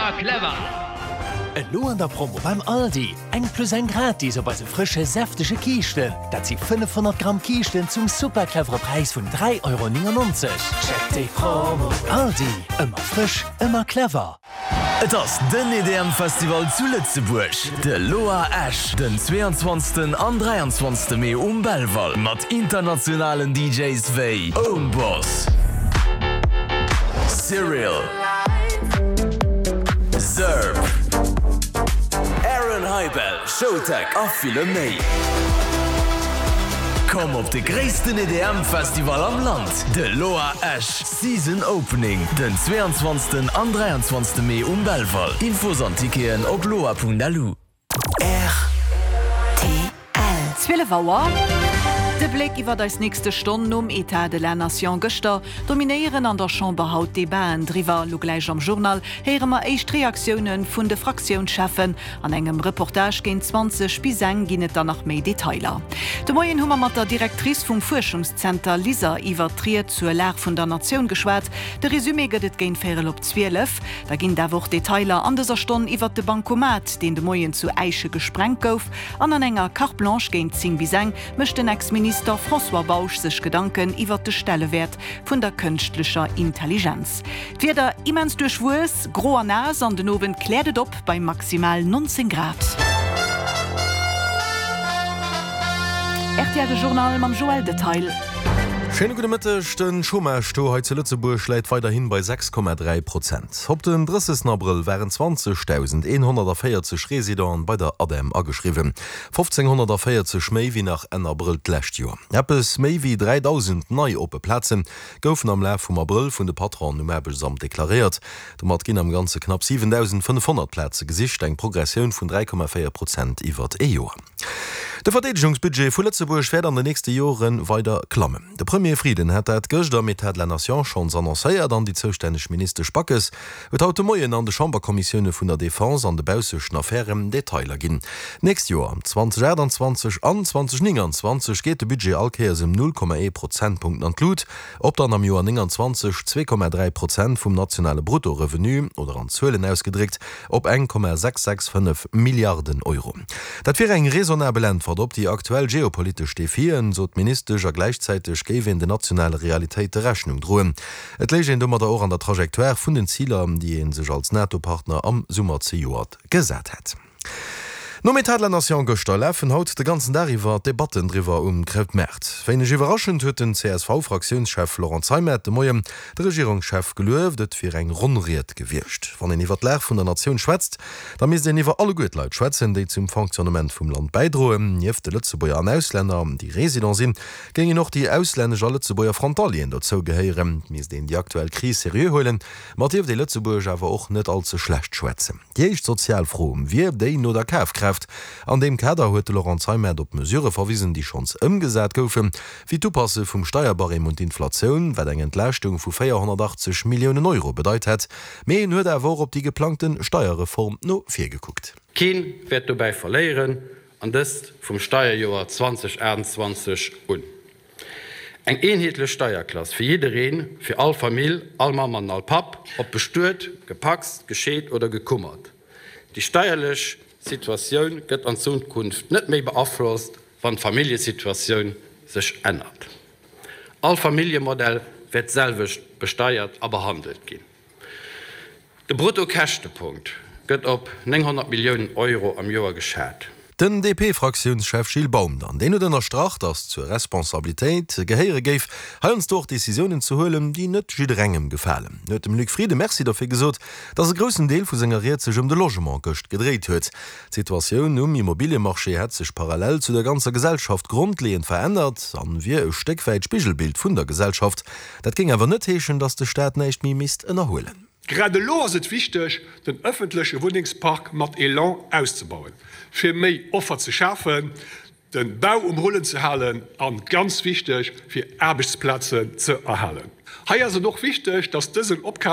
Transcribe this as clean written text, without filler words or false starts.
Ëmmer clever! Elo an der Promo beim Aldi, eng plus eng gratis op eise frësche säftege Kiischten. Dat si 500 Gramm Kiischten zum super clevere Präis vun 3,99 Euro. Check déi Promo! Aldi, ëmmer frësch, ëmmer clever! Et ass den EDM Festival zu Lëtzebuerg, de Loa Esch, den 22 an 23 Mee um Belval mat internationalen DJs wéi Ownboss, Cyril, Zerb, Aaron Hibell, Showtech a ville méi. Komm op de gréissten EDM Festival am Land, de Loa Esch Season Opening, den 22 an 23 Mee um Belval. Infos an Ticketen op loa.lu. Rtl. 12 Auer. De Bléck iwwert eis nächste Stonn nom Etat de la Nation gëschter, dominéieren an der Chamber haut d'Debaten driwwer. Lo gläich am Journal héiere mer éischt Reaktioune vun de Fraktiounscheffen. An engem Reportage géint 20 bis eng ginn et dann nach méi Detailer. De Moien hu mer mat der Directrice vum Fuerschungszenter LISER iwwert d'Ried zur Lag vun der Natioun geschwat. De Resumé gëtt et géint véierel op 12. Da ginn et awer och Detailer an dëser Stonn iwwert de Bancomat, deen de Moien zu Äische gesprengt gouf. An an enger Carte Blanche géint 10 bis eng mécht den Ex-Minister François Bausch sech Gedanken iwwert de Stellewäert vun der kënschtlecher Intelligenz. D'Wieder immens duerchwuess, gro a naass an den Owend kläert et op bei maximal 19 Grad. Rtl De Journal mam Joël Detail. Schéine gudde Mëtteg. De Chômage-Taux hei zu Lëtzebuerg läit weiderhin bei 6,3 Prozent. Op den 30 Abrëll waren 20.140 Residenten bei der ADEM ageschriwwen, 1.540 méi wéi nach Enn Abrëll d'lescht Joer. Eppes méi wéi 3.000 nei oppe Plaze goufen am Laf vum Abrëll vun de Patronen um Aarbechtsamt deklaréiert. Domat ginn am Ganze knapp 7.500 Plaze gesicht, eng Progressioun vun 3,4 Prozent iwwert ee Joer. De Verdeedegungsbudget vu Lëtzebuerg wäert an den nächste Jore weider klammen. De Premier Frieden hat dat gëscht am Etat de la Nation schonns annoncéiert an déi zoustänneg Ministesch Backes huet haut de Moien an de Chamberkommissioune vun der Defense an de baussechten Affären Detailer ginn. D'nächst Joer, 2028 an 2029, geet de Budget all Kéiers ëm 0,1 Prozentpunkten an d'Lut, op dann am Joer 29 2,3 Prozent vum nationale Bruttorevenu, oder an Zuelen ausgedréckt, op 1,665 Milliarden Euro. Dat wier eng raisonnabel Äntwert op déi aktuell geopolitesch Defien, sot d'Ministesch, a gläichzäiteg géif een den nationale Realitéite Rechnung droen. Et léich een domadder och an der Trajectoire vun den Ziler, déi ee sech als NATO-Partner am Summer zejoert gesat hätt. Nom Etat de la Nation gëschter lafen haut de ganzen Dag iwwer d'Debatten driwwer um Krautmaart. Wéineg iwwerraschend huet den CSV-Fraktiounschef Laurent Zeimet de Moien de Regierungschef gelueft, et wier eng ronn Ried gewiescht. Wann een iwwer d'Lag vun der Natioun schwätzt, da misst een iwwer alleguer d'Leit schwätzen, déi zum Fonctionnement vum Land bäidroen. Nieft de Lëtzebuerger an Auslänner, déi Resident sinn, géingen och déi auslännesch a Lëtzebuerger Frontalieren dozou gehéieren. Et misst een déi aktuell Kris seriö huelen, ma et dierft ee Lëtzebuerg awer och net all ze schlecht schwätzen. Déi éischt sozial Fro wier déi no der Kafkraaft. An deem Kader huet de Laurent Zeimet op Mesurë verwisen, déi schonns ëmgesat goufen, wéi d'Upasse vum Steierbarème un d'Inflatioun, wat eng Entlaaschtung vu 480 Milliounen Euro bedeit hätt. Mee en huet awer och op déi geplangte Steierreform no vir gekuckt. Keen wäert dobäi verléieren, an dëst vum Steierjoer 2028 un. Eng eenheetlech Steierklass fir jiddereen, fir all Famill, all Mamm an all Papp, ob bestuet, gepacst, gescheet oder gekummert. Déi steierlech Situatioun gëtt an Zukunft net méi beaflosst, wann d'Familljesituatioun sech ännert. All Familljemodell wäert d'selwecht besteiert a behandelt ginn. De Bruttokäschtepunkt gëtt op 900 Milliounen Euro am Joer geschat. Den DP-Fraktiounschef Gilles Baum dann, deen huet ënnerstrach, datt zur Responsabilitéit gehéiere géif, heiansdo och Decisiounen ze huelen, déi net jidderengem gefalen. En huet dem Luc Frieden Merci dofir gesot, datt e groussen Deel vu senger Ried sech ëm de Logement gëscht gedréit huet. D'Situatioun um Immobiliemarché hätt sech parallel zu der ganzer Gesellschaft grondleeënd verännert an wier e Stéck wäit Spigelbild vun der Gesellschaft. Dat géing awer net heeschen, datt de Staat näischt méi misst ënnerhuelen. Grad elo ass et wichteg, den ëffentleche Wunnengspark mat Elan auszebauen, fir méi Offer ze schafen, de Bau um Rullen ze halen an, ganz wichteg, fir Aarbechtsplazen ze erhalen. Hei ass et och wichteg, dass dësen Opkaf.